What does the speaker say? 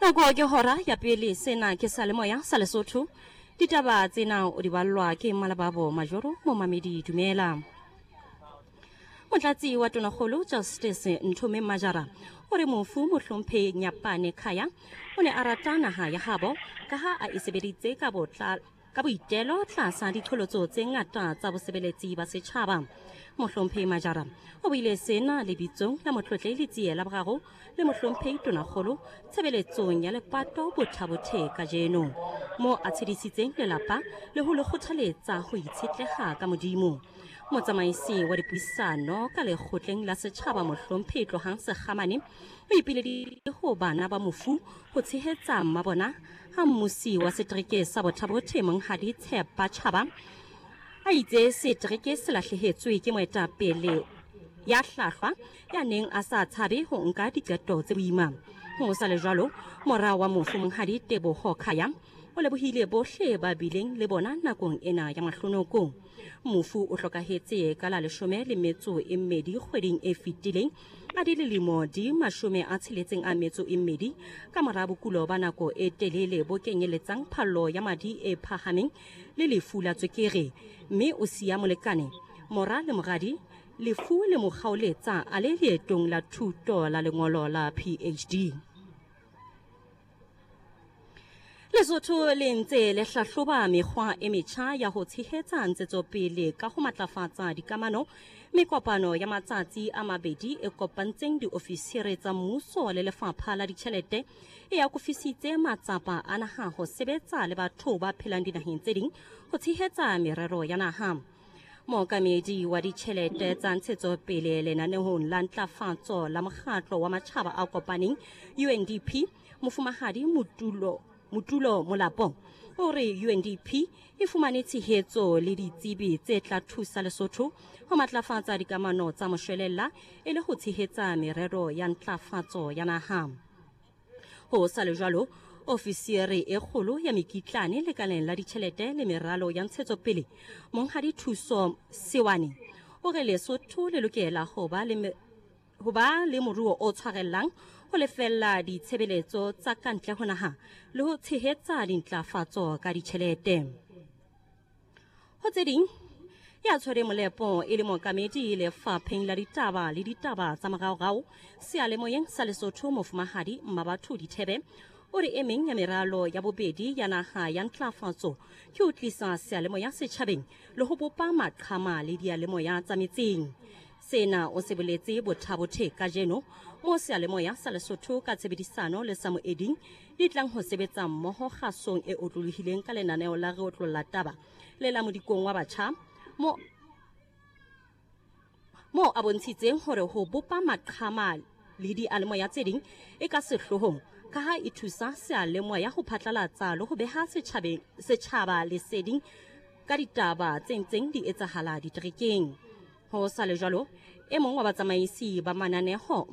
Nako ke hora ya pele sena ke sa lemoya sa Lesotho. Ditaba tsena o di ballwa ke Malababo Majoro momamedi dumela. Motlatsi wa Tonakgolo Justice Nthomeng Majara o re mofu Mohlomphehi Nyapane Khaya o ne a rata naha ya habo ka ha a e sebeditse ka botla ka boitelo tlasa diqholotso tse ngata tsa bosebeletsi ba setjhaba. Mohlomphehi Majara o buile sena lebitsong la Motlotlehi Letsie la Boraro le Mohlomphehi Tonakgolo tshebeletsong ya lepato Bothabothe kajeno, moo a tshedisitseng lelapa le ho le kgothaletsa ho itshetleha ka Modimo. Motsamaisi wa dipuisano ka lekgotleng la setjhaba Mohlomphehi Tlohang Sekgamane o ipileditse ho bana ba mofu ho tshehetsa mmabona ha mmusi wa setereke sa Bothabothe Monghadi Tshepa Chaba a itse setereke se lahlehetswe ke moetapele ya hlahlwa ya neng a sa tshabe ho nka diqeto tse boima. Ho sa le jwalo, mora wa mofu Monghadi Teboho Khaya o lebohile bohle ba bileng le bona nakong ena ya mahlonoko. Mofu o hlokahetse ka la 12 kgweding e fetileng a di lilemo di 62 ka mora bokulo ba nako e telele bo kenyeletsang phallo ya madi e phahameng le lefu la tswekere, mme o siya molekane, mora le moradi. Lefu le mo kgaoletsa a le leetong la thuto la lengolo la PhD. Lesotho le ntse le hlahloba mekgwa e metjha ya ho tshehetsa ntshetsopele ka ho matlafatsa dikamano. Mekopano ya matsatsi a mabedi e kopantseng diofisiri tsa mmuso le lefapha la ditjhelete e akofisitse matsapa a naha ho sebetsa le batho ba phelang dinaheng tse ding ho tshehetsa merero ya naha. Mookamedi wa ditjhelete tsa ntshetsopele lenaneong la ntlafatso la mokgatlo wa matjhaba a kopaneng UNDP Mofumahadi Mutulo Mutulo Molapo o re UNDP e fumane tshehetso le ditsebi tse tla thusa Lesotho ho matlafatsa dikamano tsa moshwelella e le ho tshehetsa merero ya ntlafatso ya naha. Ho sa le jwalo, ofisiere e kgolo ya mekitlane lekaleng la ditjhelete le meralo ya ntshetsopele, Monghadi Thuso Sewane, o re Lesotho le lokela ho ba le ho ba le moruo o tshwarellang ho lefella ditshebeletso tsa ka ntle ho naha le ho tshehetsa dintlafatso ka ditjhelete. Ho tse ding, ya tshwere molepo e le mookamedi lefapheng la ditaba le ditaba tsa moraorao seyalemoyeng sa Lesotho Mofumahadi Mmabatho Dithebe o re e meng ya meralo ya bobedi ya naha ya ntlafatso ke ho tlisa seyalemoya setjhabeng le ho bopa maqhama le diyalemoya tsa metseng. Sena o se boletse Bothabothe kajeno moo seyalemoya sa Lesotho ka tshebedisano le sa Moeding di tlang ho sebetsa mmoho kgasong e otlolohileng ka lenaneo la Re Otlolla Taba le la Modikong wa Batjha mo moo a bontshitseng hore ho bopa maqhama le dialemoya tse ding e ka sehloohong ka ha e thusa seyalemoya ho phatlalatsa le ho beha setjhaba leseding ka ditaba tse ntseng di etsahala diterekeng. Ho sa le jwalo, e mong wa batsamaisi ba mananeho